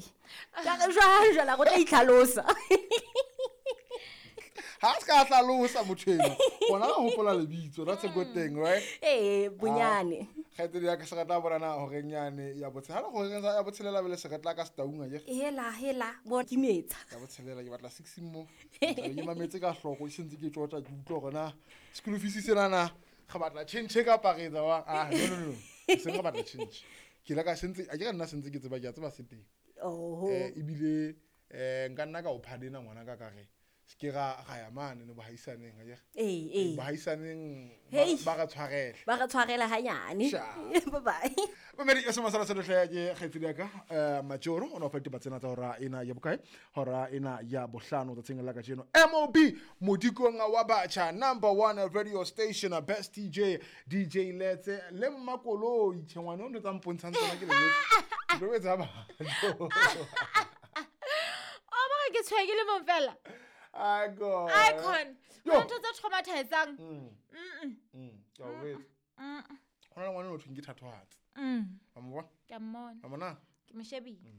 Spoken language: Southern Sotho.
Kae ka re jwang jwala go tla itlhalosa. Ha se ka hlalosa motho eno gona ka gopola lebitso. That's a good thing, right? Ee, bonyane. Kgaitsedi ya ka, se re tla bonana goreng yane ya botshela goreng ya botshelela bele se re tla ka setaung akere. Hela hela, bo kimetsa. Ya botshelela ke batla six mo ke mametse ka hloko, ke sentse ke tsota ke utlwa gore na school fees senana re batla change kapa re etsa wa. Ah, no, no, no, seng re batla change. Ke ile ka sentse a ke ka nna sentse ke tseba, ke a tseba se teng. Oho. Ebile nka nna ka o phadena ngwana ka re se ke ra ya mane ne bohaisaneng akere. Ee, ee. Bohaisaneng. Hey. Ba re tshwarele. Ba re tshwarela hanyane. Sha. Bye bye. Mamedi e sema sala selehle ke kgaitsedi ya ka Majoro o ne o fa ditaba tsena tsa hora ena ya bokae, hora ena ya bohlano tsatsing la kajeno. Mob modikong wa batjha, number one radio station, best DJ, DJ Letse le Mmakoloi. Tjhe, ngwana o ntho tsa mpontshang tsona ke leletse. Ke tlo etsa batho. O mara ke tshweye ke le mong fela. Icon. Icon. Yo. Go ntho tse traumatizang. Ke a o jwetsa. Ho na le ngwana o thweng ke thatohatsi. Wa mo bona? Ke a mmona. Wa mona? Ke mo shebile.